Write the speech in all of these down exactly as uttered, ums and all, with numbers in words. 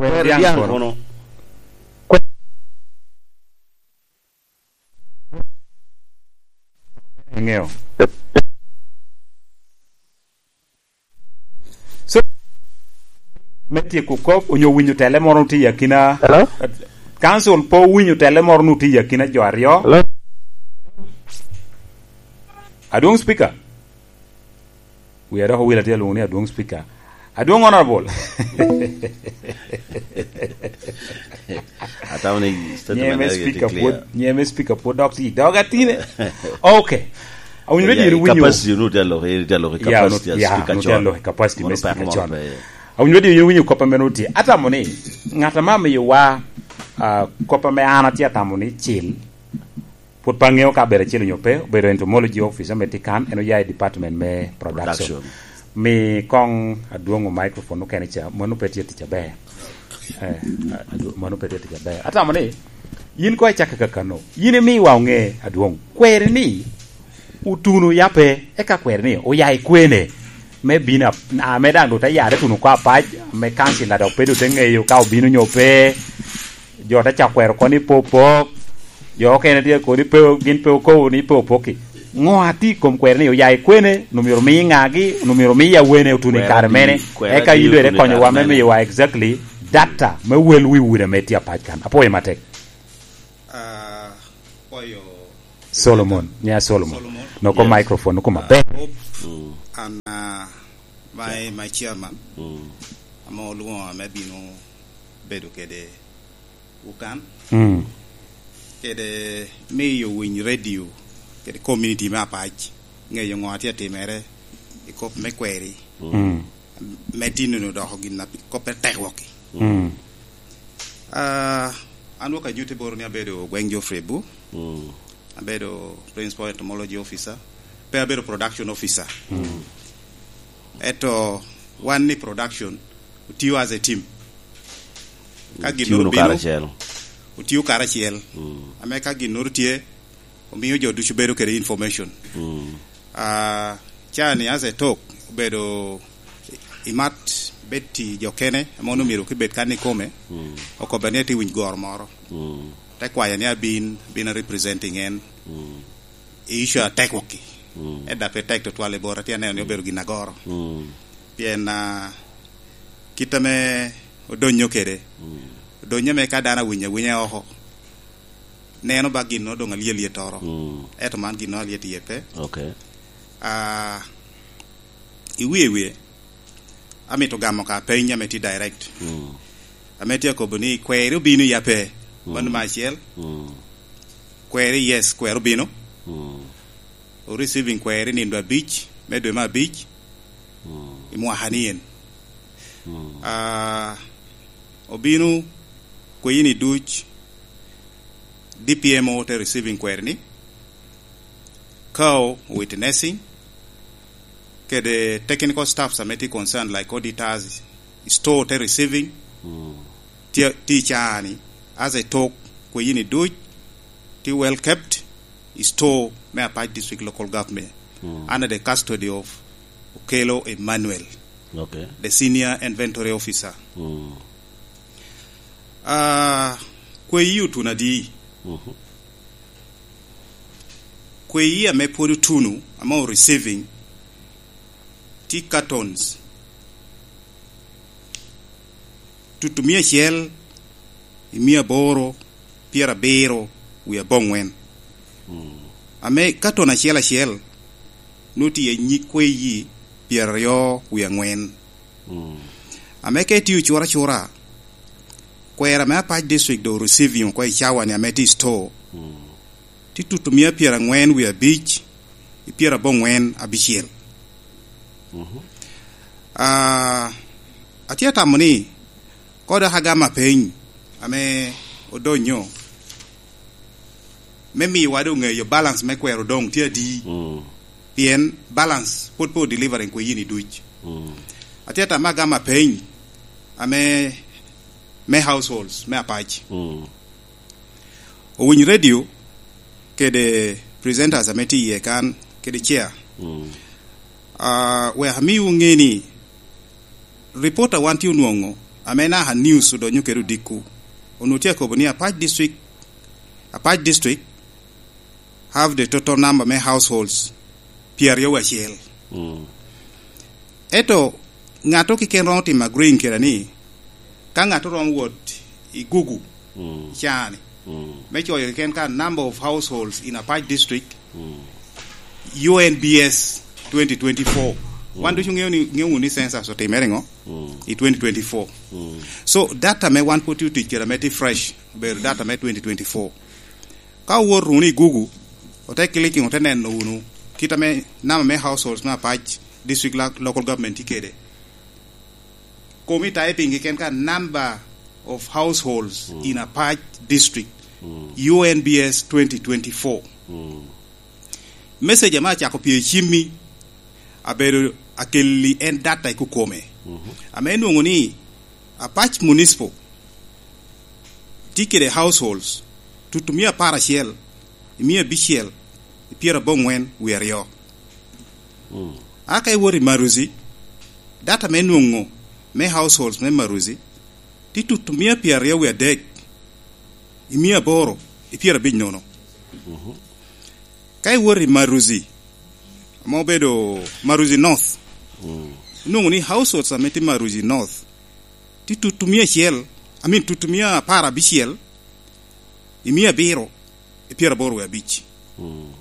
Kwero Kwero dyaŋ dyaŋ kono. Kono. Eŋeo. So, me tyeko kop, onyo winyo tele moro tye i akina, Hello? Council po winyo tele moro nu tye i akina jo aryo. Hello? Adwong Speaker. Wi adok owil atye alwongo ni Adwong Speaker. Adwong Honorable. Atamo ni statement Nyeme area Speaker tye clear. Pwod, nyeme Speaker pwod dok tye i dog atine. Okay. Awinyo Yeah, radio ni winyo. Capacity nu tye aloko, tye aloko i Yeah, capacity nu-, as yeah, Speaker nu tye Chon. Aloko i capacity me Mano pek Speaker moro Chon. Pe. Awinyo radio ni winyo kop ame nu tye. Atamo ni, ngat ame amiyo wa, ah, kop ame an atye atamo ni cil, pwod pe aŋeo ka abedo acel onyo pe, obedo entomology officer me tye kan, en oya i department me production. Production. Mi koŋ adwoŋo microphone okene ca, mano pe tye tic aber. Eh, adwo-, mano pe tye tic aber. Atamo ni, yin koŋ icak kakano. Yin imiwa oŋe adwoŋ. Kweri ni, otuno ya pe, eka kweri ni, oya i kwene. Me bino ap-, ame daŋ doŋ te yare tuno oko apac, me kancila dok pe doŋ te ŋeyo ka obino nyo pe. Jo te cako kwero oko ni pe opok. Jo okene tye kodi pe, gin pe okobo ni pe opokki. Ŋo atye i kom kwero ni oya i kwene, onwoŋo myero omi ŋagi, onwoŋo myero omi awene otuno i Kwero kare adi? Mene? Kwero Eka adi yin doŋ otuno i ikonyo kare wa me mene? Miyo wa exactly data me wel wi udi ame tye apac kan. Apwoyo matek. Ah, apwoyo Solomon, nya Solomon. Solomon. Noko Yes. microphone, noko Ah, maber. Hope, Mm. an, ah, my, my chairman, Mm. ame olwoŋo ame bino bedo kede Ukan. Mm. Kede miyo winy radio, kede community me apac, ŋeyo ŋo a tye atimere i kop me kweri. Mm. Me tinno doko gin a pi-, kop me tek wok-ki. Mm. Ah, an wok anyutte boro ni abedo Gweng Geoffrey Bu. Mm. Abedo Principal Entomology Officer. Pe abedo Production Officer. Mm. Eto wan ni production, otio as a team. Ka gin Otio no obino, karacel. Otio karacel. Mm. Ame ka gin no tye, omio jo ducu bedo kede information. Mm. Ah, cani as a talk, obedo i mat bed ti jo kene, ame onwoŋo myero kibed kan ikome, Mm. okobba ni atye winyo goro moro. Mm. Te kwaya ni abin, abin a representing en. Mm. I issue atek wok-ki. Mm. Eda pe tek tutwal i bota, tye aneno ni obedo gin agoro. Mm. Pien, ah, kit ame odonyo kede, Mm. odonyo ame ka dano awinyo awinya oko, neno ba gin no doŋ alyet lyet oro. Mm. Ento man gin no alyet iye pe. Okay. Ah, i wie wie, amito gamo ka peny ame tye direct. Mm. Ame tye akobo ni kweri obino ya pe. Mm. Mano me acel. Mm. Kweri, yes, kweri obino. Mm. O receiving kweri nindo abic, me dwe me abic, Mm. i mwaka ni en. Mm. Ah, obino kweyini duc, D P M O te receiving kweri ni, Kao witnessing, kede technical staffs ame tye concerned, like auditors, store te receiving, Mm. tye, tye i caa ni, as a talk, kweyini duc, tye well kept, i store me Apac District Local Government, Mm. under the custody of Okello Emmanuel, Okay. the senior inventory officer. Mm. Ah, kweyi otuno adi? Mhm. Kweyi ame pwod otuno, ame o receiving, tye cartons tutu mia acel i mia aboro pyerabiro wie aboŋwen. Mm. Ame carton acel acel, nwoŋo tye nyig kweyi pyeraryo wie aŋwen. Mm. Ame ka itio cura cura, kwera me Apac District doŋ receiving oko i cawa ni ame tye i store, Mm. tye tutu mia pyeraŋwen wie abic i pyeraboŋwen abicel. Mhm. Ah, atye atamo ni, koda ka gamo apeny ame odonyo, me miwa doŋ ŋeyo balance me kwero doŋ tye adi. Mm. Pien balance pwod pe o delivering kweyini duc. Mm. Atye atamo agamo apeny ame me households me Apac. Mm. Owiny radio kede presenters ame tye iye kan kede chair. Mm. Ah, wek amiwu ŋe ni, report a wan tye onwoŋo, ame naka news odonyo kede odiko, onwoŋo tye akobo ni Apac District, Apac District have the total number me households pyeraryo wiye acel. Mm. Ento ŋat keken romo timo agreeing keda ni, ka ŋat romo wot i Google, mm, cani, mm, me coyo keken ka number of households in Apac District, mm, U N B S twenty twenty-four. Mm. Wan ducu ŋeo ni, ŋeo wunu ni census otimere ŋo? Mm. I twenty twenty-four. Mm. So, data me wan pwod tye otic kede ame tye fresh, obedo data me twenty twenty-four. Ka owot wunu i Google, ote clicking, ote neno wunu kit ame number me households me Apac District lo-, Local Government tye kede. Komi typing keken ka number of households, mm, in Apac District, mm, U N B S twenty twenty-four. Mm. Message ame acako pye i cimmi, abedo akelli en data i kukome. Mhm. Ame enwoŋo ni Apac Municipal tye kede households tutumia apar acel, i mia abicel, i pyeraboŋwen wie aryo. Mm. Aka iwot i Maruzi, data me nwoŋo me households me Maruzi tye tutumia pyeraryo wie adek, i mia aboro, i pyerabic nono. Mhm. Ka iwot i Maruzi, ame obedo Maruzi North, mm, inwoŋo ni households ame tye Maruzi North tye tutumia acel, I mean, tutumia apar abicel, i mia abiro, i pyeraboro wie abic. Mm.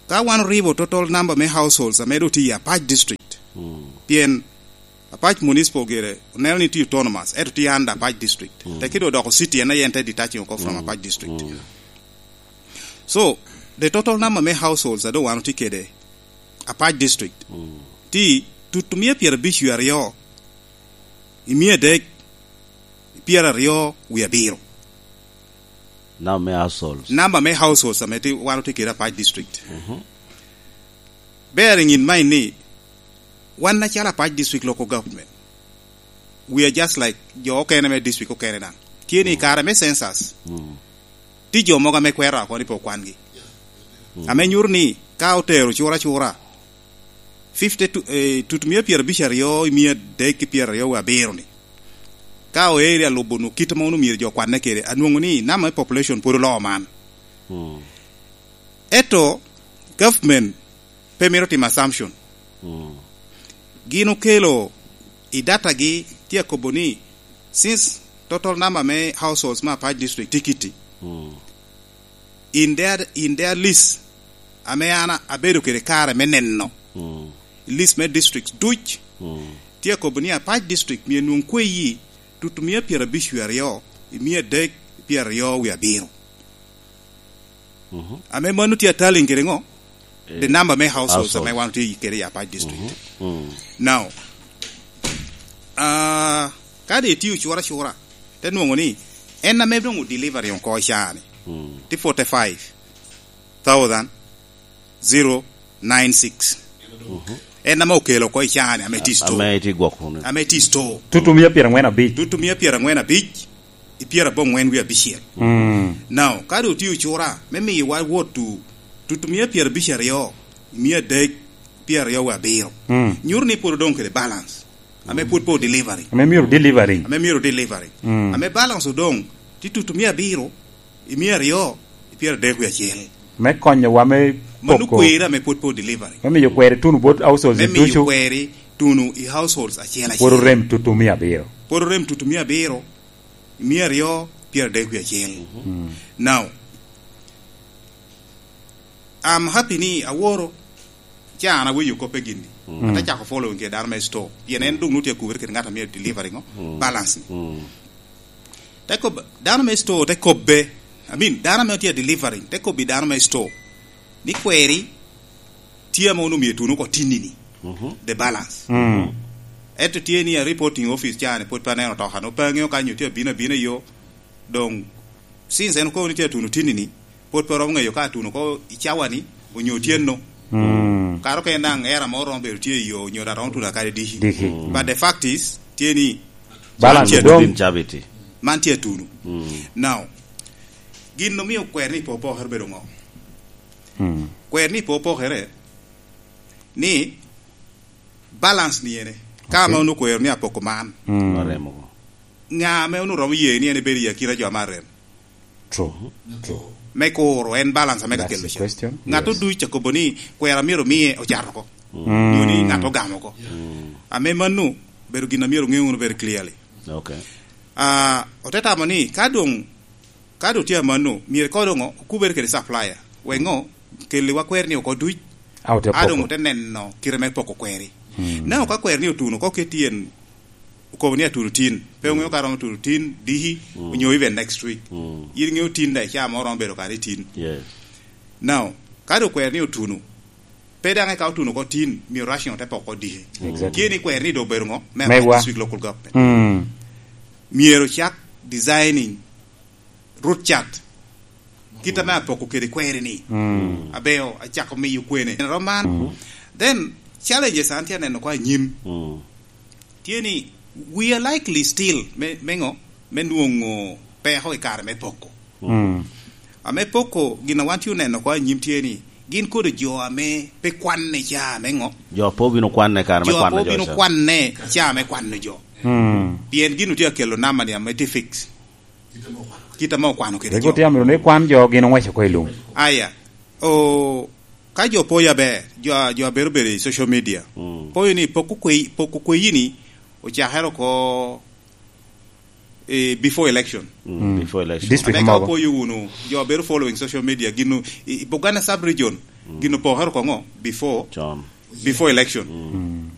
Ka wan oribo total number me households ame doŋ tye i Apac District, mm, pien Apac Municipal gire oneno ni tye autonomous, ento tye under Apac District. Mm. Tekki doŋ odoko city, en aye en te detaching oko from, mm, Apac District. Mm. So, the total number me households a doŋ wan otye kede Apac District, mm, tye tutumia pyerabic wie aryo, i mia adek, i pyeraryo wie abiro. Number me households. Number me households ame tye, wan otye kede Apac District. Mhm. Bearing in mind ni, wan acalo Apac District Local Government, we are just like jo okene me district okene daŋ. Tye ni, mm, kare me census, mm, tye jo mogo ame kwero oko ni pe okwangi. Mm. Ame nyuto ni ka otero cura cura, fifty tu-, eh, tutumia pyerabic aryo i mia adek ki pyeraryo wie abiro ni, ka oeri alubo nu kit ame onwoŋo myero jo kwanne kede, anwoŋo ni number me population pwod oloo man. Mm. Ento government pe mito timo assumption. Mm. Gin okelo i data gi, tye akobo ni, since total number me households me Apac District tye kitti, mm, in their, in their list, ame an abedo kede kare me neno, mm, list me districts duc, mm, tye akobo ni Apac District myero nwoŋ kweyi tutumia pyerabic wie aryo, i mia adek pyeraryo wie abiro. Mhm. Ame mano tye atalliŋ kede ŋo? Eh, the number me households, households ame wan otye kede i Apac District. Mhm. Mm. Now, ah, ka doŋ itio cura cura, te nwoŋo ni en ame doŋ o delivering oko i caa ni, mm, tye forty-five thousand zero nine six. Mhm. En ame okelo oko i caa ni, ame tye i store. Ame tye gwok kuno. Ame tye i store. Tutumia pyeraŋwen abic. Tutumia pyeraŋwen abic, i pyeraboŋwen wie abicel. Mm. Now, ka doŋ otio cura me miyowa wot to tutumia pyerabic aryo, i mia adek pyeraryo wie abiro. Mm. Nyuto ni pwod odoŋ kede balance. Ame pwod pe o delivering. Ame myero delivering. Ame myero delivering. Mm. Ame balance odoŋ, tye tutumia abiro, i mia aryo, i pyeradek wie acel. Me konyowa me mano poko kweri ame pwod pe o delivering. Me miyo kweri tuno bot households ducu. Me miyo kweri tuno i households acel acel. Pwod orem tutumia abiro. Pwod orem tutumia abiro, i mia aryo, pyeradek wie acel. Mm. Now, I'm happy ni aworo, ca an awinyo koppe gini. Mm. Ate cako following kede dano me store. Pien en doŋ nwoŋo tye akubere kede ŋat a myero delivering o, mm, balance ni. Mm. Te kob-, dano me store te kobbe, I mean, dano ame tye delivering, te kobbi dano me store ni kweri tye ame onwoŋo myero tuno oko tinni-ni, mhm, the balance. Mm. Ento tye ni a reporting office caa ni pwod pe aneno toka, no pe aŋeo ka nyo tye abino abina i yo, doŋ, since en okobo ni tye atuno tinni-ni, pwod pe romo ŋeyo ka atuno oko i cawa-ni, onyo otyeno. Mm. Kara okene daŋ era mo romo bedo tye i yo, onyo daŋ romo tuno akadi diki. Diki. Mm. But the fact is, tye ni balance man tye dong. Atuno. Man tye atuno. Mm. Now, gin omio kwer ni pe opokere bedo ŋo? Mm. Kwer ni pe opokere, ni balance ni ene. Ka, okay, ma onwoŋo kwero ni apoko man. Mm. Oremo. Ŋa ame onwoŋo romo ye ni en ebedo i akina jo ame arem? True. True. Me kuro en balance ame ka That's kelo the can. Question. Ŋat Yes. Oduc akobo ni kwero myero omiye ocato oko. Mm. Nyo ni ŋat ogamo oko. Ame mano bedo gin a myero oŋe wunu very clearly. Okay. Ah, ote tamo ni ka doŋ, ka doŋ tye amanno, myero ko doŋ okubere kede supplier. Wek ŋo? Kelli wa kwer ni oko duc. A ote A doŋ poko. Ote neno kite me poko kweri. Mm. Na oka kwer ni otuno, ko ke tyen okobo ni atuno tin. Pe oŋeo ka romo tuno tin, diki, Mm. onyo even next week. Mm. In ŋeo tin da, icaa mo romo bedo kare i tin. Yes. Now, ka doŋ kwer ni otuno, pe daŋ eka otuno oko tin, myero rushing ote poko diki. Exactly. Tye ni kwer ni doŋ obedo ŋo? Me Megwa. This week local government. Mm. Myero cak designing root chart. Kit ame apoko kede kweri ni. Mm. Abeo, acako miyo kwene. Rom man. Mm. Then, challenges an tye aneno ko anyim. Mm. Tye ni, we are likely still me, me ŋo? Me nwoŋo peko i kare me poko. Mm. Ame poko, gin a wan tye oneno ko anyim tye ni, gin kodo jo ame pe kwanne ca me ŋo? Jo pe obino kwanne kare me Jo kwano pe jo obino ca. Kwanne ca me kwano jo. Mm. Pien gin otye akelo nama ni ame tye fix. Kit ame okwano kede Rik jo. Otye amito ni kwan jo gin oŋweco oko i lum. Aya, o, ka jo poyo aber, jo a, jo a bedo bedo i social media, Mm. poyo ni poko kwe-, poko kweyi ni ocakere oko, eh, before election. Mm, Mm. Before election. District Ame ka mogo. Opoyo wunu, jo a bedo following social media, gino, i, i Buganda sub-region, Mm. gino pokere oko ŋo? Before, Con. Before election. Mm.